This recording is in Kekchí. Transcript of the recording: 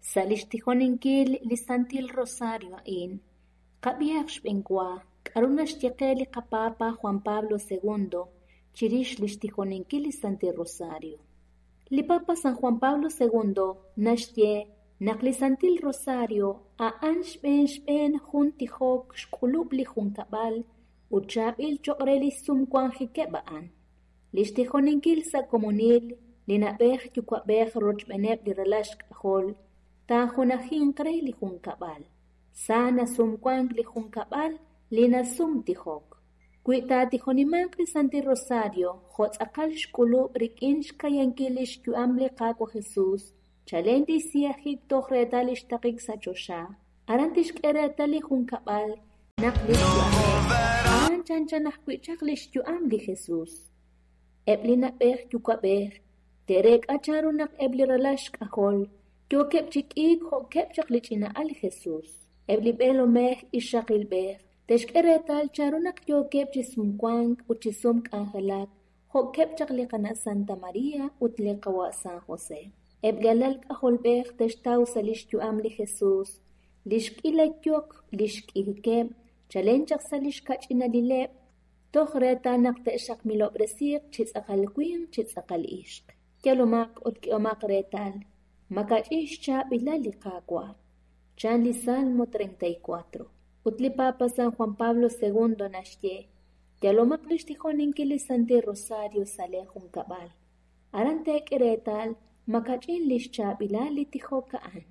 Sa' li xtijoninkil li Santil Rosario a'in, qab'ihaq xb'enwa k'aru naxye qe li qaPapa Juan Pablo II chirix li xtijoninkil li Santil Rosario. Li Papa San Juan Pablo II naxye naq li Santil Rosario a'an xb'een xb'een jun tijok xk'ulub' li junkab'al ut chaab'il cho'q re li sumwanjikeb' a'an. Li xtijoninkil sa' komonil li na'b'ej yuwa'b'ej rochb'eeneb' li ralal xk'ajol taajunajinq re li junkab'al. Sa nasumwank li junkab'al li nasumtijok. Wi taatijonimanq li Santil Rosario jo' tz'aqal xk'ulub' rik'in xkayankil li xyu'am li Qaawa' Jesús, chalen tixsiyajik toj reetal li xtaqik sa' choxa, aran tixk'e reetal li junkab'al naq li xyu'ameb' a'an chanchan ajwi' chaq li xyu'am li Jesús. Eb' li na'b'ej yuwa'b'ej te'reek'a chanru naq eb' li ralal xk'ajol yookeb' chi k'iik jo'keb' chaq li ch'ina'al Jesús. Eb' li b'eelomej ixaqilb'ej te'xk'e reetal chanru naq yookeb' chi sumwank ut chi sumk'anjelak jo'keb' chaq li qana' Santa María ut li qawa' San José. Eb' li alal k'ajolb'ej te'xtaw sa' li xyu'am li Jesús li xk'ila yok li xk'ijikeb' chalen chaq sa' li xkach'inalileb' toj reetal naq te'xaqmilob'resiiq chi tz'aqal winq chi tz'aqal ixq. Yalomaq ut k'ehomaq reetal makach'in xchaab'ilal li Qaawa'. Chan li Salmo 34. Ut li Papa San Juan Pablo II naxye, yalomaq li xtijoninkil li Santil Rosario sa' lee junkab'al. Aran teek'e reetal makach'in li xchaab'ilal li tijok a'an.